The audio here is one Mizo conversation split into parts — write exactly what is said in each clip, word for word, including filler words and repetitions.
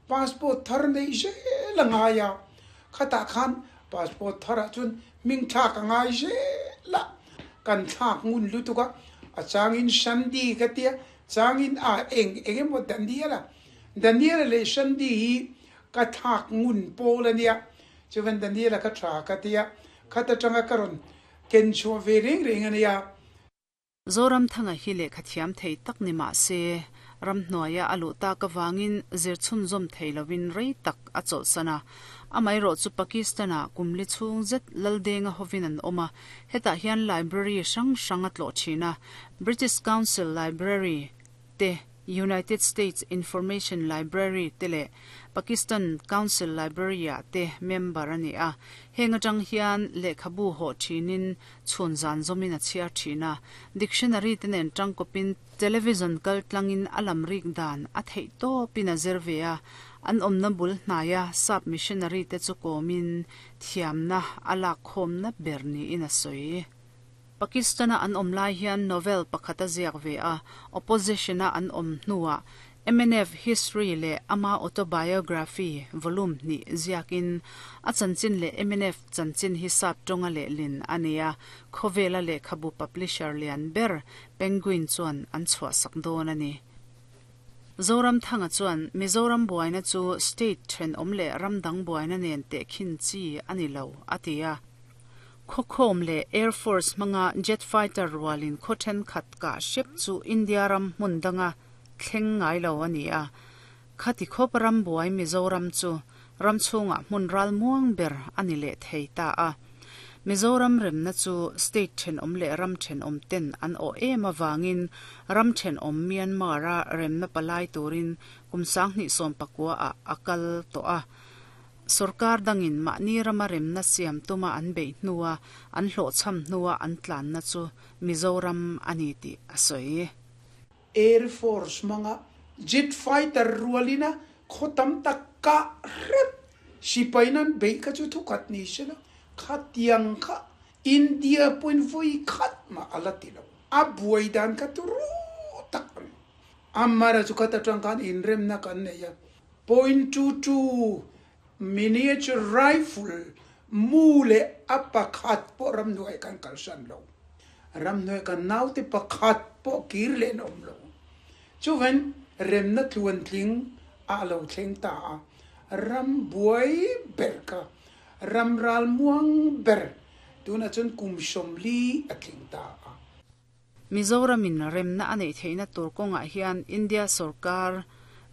Passport thar nei zel a ngai a, khatah khan passport tharah chuan hming thlak a ngai zel a, kan thlak ngun lutuk a, a changin Shandy ka tia, changin a eng eng emaw Daniela, Daniela leh Shandy hi ka thlak ngun pawl a nia, chuan Daniela ka tha ka tia, khat atanga ka rawn ken chhuah ve reng reng a nia. Zoramthanga hi lehkha thiam thei tak ni mah se, ramhnuaia a luh tak avangin zir chhunzawm thei lovin rei tak a chawlhsan a. Amaherawh chu Pakistan-ah kum li chhung zet Laldenga hovin an awm a, hetah hian library hrang hrang a tlawh thin a, British Council Library te, United States Information Library te leh Pakistan Council Library-ah te member a ni a. Heng atang hian lehkhabu hawh thinin chhun zan zawmin a chhiar thin a, dictionary te nen tangkawpin television kal tlangin a lam rik dan a theih tawpin a zir ve a, an awmna bul hnaia sap missionary te chu kawmin thiamna a lak khawmna ber niin a sawi. Pakistan-a an awm lai hian novel pakhat a ziak ve a, opposition-a an awm hnuah M N F History leh ama autobiography volume hnih ziakin a chanchin leh M N F chanchin hi sap tawnga lehlin a ni a, khawvela lehkhabu publisher lian ber Penguin chuan an chhuahsak dawn a ni. Zoramthanga chuan Mizoram buaina chu state thenawm leh ramdang buaina nen tehkhin chi a ni lo a ti a. Khawkhawm leh Air Force hmanga jet fighter rualin khaw thenkhat kah hrep chu India ram hmun danga thleng ngai lo a ni a. Khati khawp ram buai Mizoram chu ram chhungah hmun ral muang ber a ni leh thei ta a. Mizoram remna chu state thenawm leh ram thenawm ten an awh em avangin ram thenawm Myanmar-a remna palai turin kum sanghnih sawm pakua ah a kal tawh a. Sarkar dangin mahni rama remna siam tuma an beih hnua an hlawhchham hnua an tlanna chu Mizoram a ni tih a sawi. Air Force hmanga jet fighter rualina khaw tam tak kah hrep sipainan beih kha chu thukhat ni sela khatiang kha India point vawi khat mah a la ti lo. A buai dan kha turu tak a ni. Amara chu khat atang khan inremna kan nei a, point two two miniature rifle mu leh a pakhat pawh ramhnuai kan kalsan lo. Ramhnuai kan naute pakhat pawh kir leh an awm lo. Chuan remna tluan tling a lo thleng ta a, ram buai ber kha ram ral muang ber tunah chuan kum sawmli a tling ta a. Mizoramin remna a neih theihna tur kawngah hian India sarkar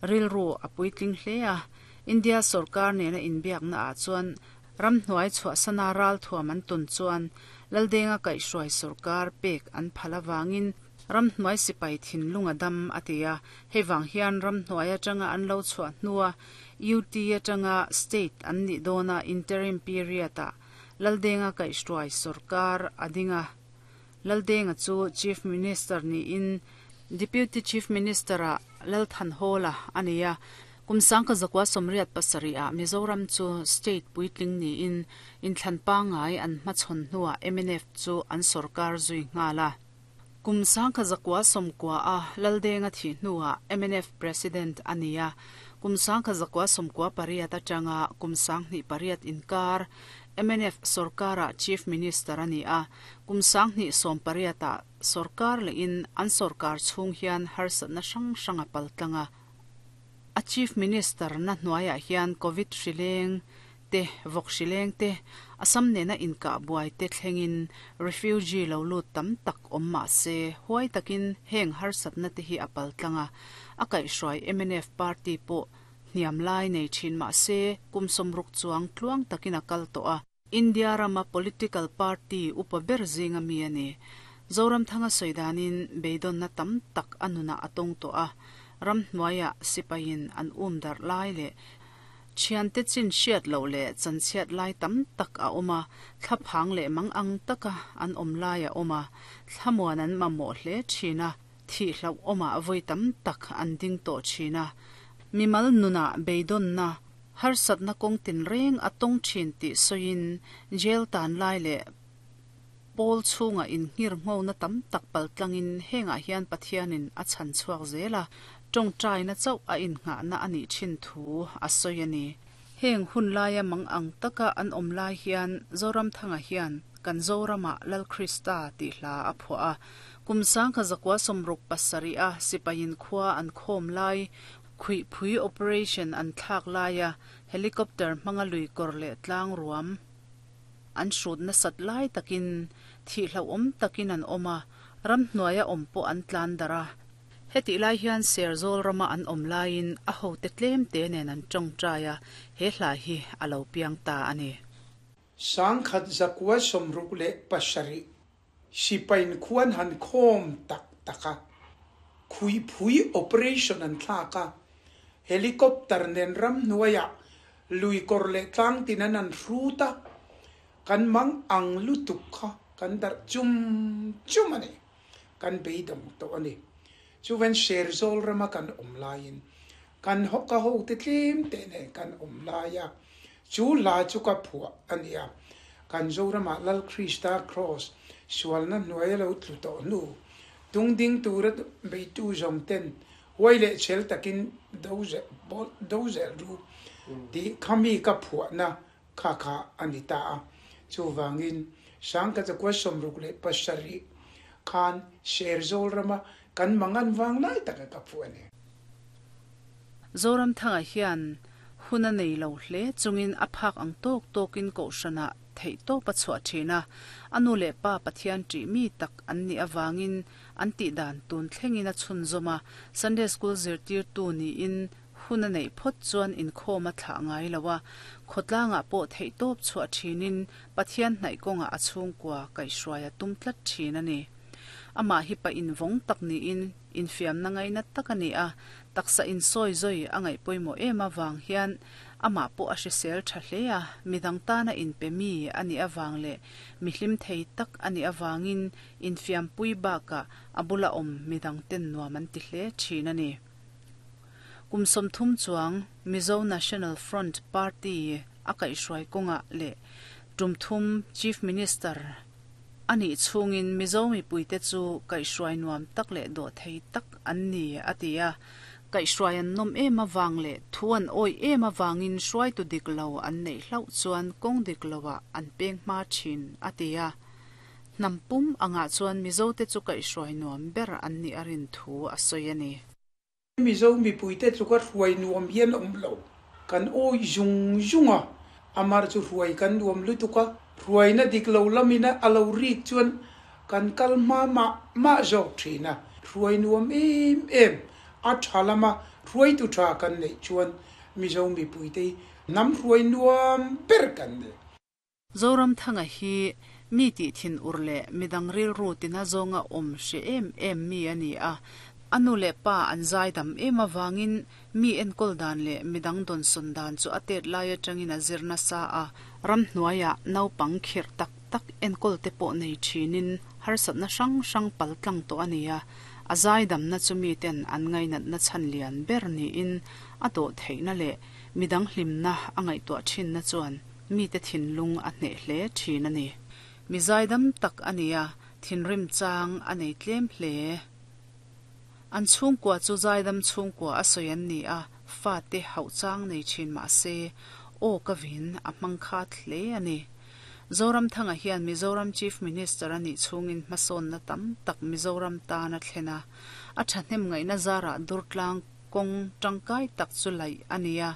rilru a puitling hle a. India sarkar nena inbiakna ah chuan ramhnuai chhuahsana ral thuam an tun chuan Laldenga kaihhruai sarkar pek an phal awangin ramhnuai sipai thinlung a dam a ti a. Hei vang hian ramhnuai atanga an lo chhuah hnua U T atanga state an nih dawna interim period ah Laldenga kaihhruai sarkar a ding a. Laldenga chu Chief Minister niin Deputy Chief Minister ah Lalthanhawla a ni a. Kum sangka zakwa sawmriat pasarih ah Mizoram chu state puitling niin inthlan pangai an hmachhawn hnuah M N F chu an sarkar zui nghal a. Kum sangka zakwa sawmkua a Laldenga thi hnuah M N F President a ni a. Kum sangka zakwa sawmkua pariat atanga kum sanghnih pariat inkar M N F sarkara Chief Minister a ni a. Kum sanghnih sawm pariat ah sarkar lehin an sarkar chhung hian harsatna hrang hrang a paltlang a. A Chief Minister na hnuaiah hian Covid hrileng te vawk hrileng te Assam nena inkah buai te thlengin refugee lo lut tam tak awm mah se huai takin heng harsatna te hi a paltlang a. A kaihhruai M N F party pawh hniam lai nei thin mah se kum sawmruk chuang tluang takin a kal tawh a. India rama political party upa ber zinga mi a ni. Zoramthanga sawidanin beidawnna tam tak a nunah a tawng tawh a. Ramhnuaiah sipain an um darh lai leh thiante chin hriat loh leh chanchhiat lai tam tak a awm a, thlaphang leh mang ang taka an awm lai a awm a, thlamuan an mamawh hle thin a, thih hlauh awmah vawi tam tak an ding tawh thin a. Mimal nunah beidawnna harsatna kawng tin reng a tawng thin tih sawiin jail tan lai leh pawl chhunga inngir ngona tam tak paltlangin hengah hian Pathianin a chhan chhuak zel a. Tong trai na chau a in nga na ani chin thu a soyani heng hun laia mang ang taka an om lai hian Zoram Thanga hian kan Zorama Lal Krista ti hla a phua kumsang kha zakwa somruk pasari a sipain khwa an khom lai khui phui operation an thak laia helicopter mangalui korle tlang ruam an shrut na sat lai takin thi hlo om takin an oma ram hnuaia ompo an tlan dara heti lai hian serzol rama an om lain a ho te tlem te nen an tong traya he hla hi alo piang ta ani sangkhat zakwa somruk le pasari sipain khuan han khom tak taka khui phui operation an thlaka helicopter nen ram hnuaia lui kor le tlang tinan an ruta kan mang ang lutuk kha kan dar chum chum ani kan beidong to ani chuwen serzol rama kan om lain kan hoka ho te tlem te ne kan om laia chu la chu ka phua ania kan Zorama Lal Krista cross sualna hnuai lo tlu to nu tung ding turat beitu zong ten huai le chel takin doze bol doze ru di khami ka phua na kha kha anita chu wangin sangka cha kwa somruk le pasari khan serzol rama kan mangan wang lai taka ka phua ne Zoram Thanga hian huna nei lo hle chungin aphak ang tok tokin ko shana thei to pachwa thina anu le pa Pathian ti mi tak an ni awangin an ti dan tun thlengin a chhun zoma Sunday school zirtir tu ni in huna nei phot chuan in khoma thla ngai lawa khotlanga po thei top chwa thinin Pathian hnai konga a chhung kwa kai hruaia tum tlat thina ni ama hi pa in vong tak ni in in fiam na ngai na takani a taksa in soi zoi angai poimo ema wang hian ama po a hrisel tha hlea midang ta na in pe mi ani awang le mihlim thei tak ani awangin in fiam pui ba ka abula om midang ten nuam an ti hle thin ani kumsom thum chuang Mizo National Front Party akai hruai konga le tumthum Chief Minister ani chungin Mizo mi puite chu kai hruai nuam tak le do thei tak an ni atia kai hruai an nom ema wang le thuan oi ema wangin hruai tu diklo an nei hlau chuan kong diklowa an peng ma thin atia nampum anga chuan Mizo te chu kai hruai nuam ber an ni arin thu a soyani Mizo mi puite chu ka hruai nuam hian om lo kan oi zung zunga amar chu hruai kan nuam lutuka ruai na diklo lamina alo rik chuan kan kal ma ma ma zok thina ruai nuam em em a thalama ruai tu tha kan nei chuan Mizo mi puite nam ruai nuam ber kan ne Zoram Thanga hi mi ti thin urle midang ril ru tina zonga om she em em mi ani a anu le pa an zai dam em awangin mi enkol dan le midang don sun dan chu atet lai atangin a zirna sa a ram hnuaia naupang khir tak tak enkol te pawh nei thinin harsatna hrang hrang pal tlang to ania a zai dam na chu mi ten an ngainat na chan lian ber ni in a do theina le midang hlimna angai to thin na chuan mi te thinlung a hne hle thin ani mi zai dam tak ania thinrim chang anei tlem hle an chhung kwa chu zai dam chhung kwa a soyan ni a fa te hau chang nei thin ma se o ka vin a mangkha thle ani Zoram Thanga hian Mizoram Chief Minister ani chungin hmasawn na tam tak Mizoram ta na thlena a thahnem ngai na zara durtlang kong tangkai tak chu lai ania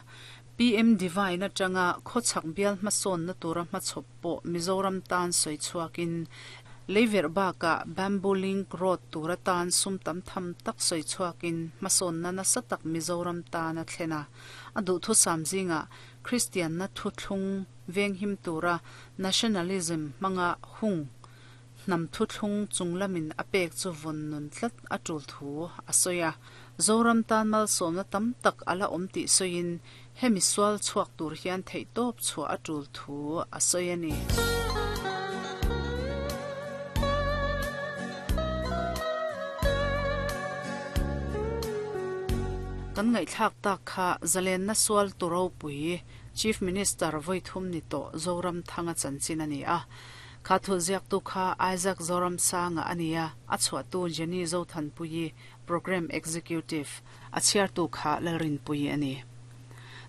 P M Divine atanga khochak bial hmasawn na tura hmachhawp pawh Mizoram tan soi chhuakin leiver baka Bamboo Link Road tura tan sum tam tham tak soi chhuakin hmasawn na nasa tak Mizoram ta na thlena a duh thu sam zinga Christian na thu thlung veng him tura nationalism manga hung nam thu thlung chunglamin apek chu von nun tlat a tul thu a soya Zoram tan mal som na tam tak ala om ti soin hemi sual chuak tur hian thei top chu a tul thu a soyani kan ngai thlak tak kha zalen na sual turo pui Chief Minister voithum ni to Zoram Thanga chanchin ani a kha thu ziak tu kha Isaac Zoram Sanga ania a chhuah tu Jenny Zothan pui Programme Executive, a chhiartu kha Lalrinpuii a ni.